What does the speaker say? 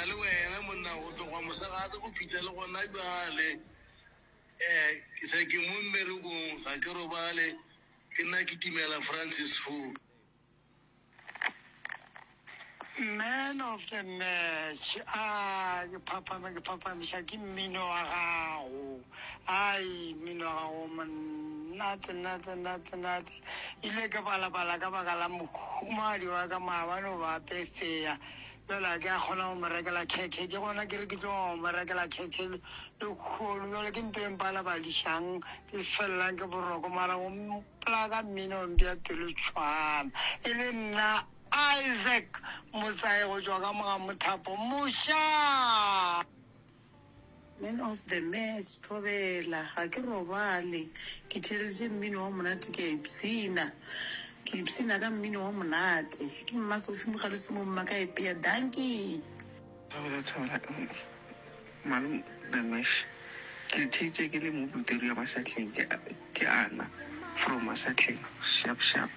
na le wena monna go tloga mosegare go fihla le gona bjale. Um ke se ke mo mmerekong ga ke robale ke nna ke timela Francis Fo. Man of the match a ke phaphame ke phaphamiša ke mmino wa gago ai mmino wa gago monate nate nate nate ile ke balabala ka baka la mohumadi wa ka maabane o ba pefea bjale a ke a kgona go mo rekela khekhe ke gona ke re ke tlo go mo rekela khekhe lekgolo bjale ke nto e mpalabadišang ke felelang ke boroko mara go Plaka mmino mpša pelo tšhwana e le nna Isaac Motsae go tšwa ka mo ga Mothapo Moša. Man of the match Thobela ga ke robale ke theeleditše mmino wa monate ke a ipshina ke ipshina ka mmino wa monate ke mma Sophie Mogalesu mo mma ka epea dankie. Thobela thobela Malome the mesh ke le theeditše ke le mo Pretoria Mashahleng ke ke Ana from Mashahleng sharp sharp.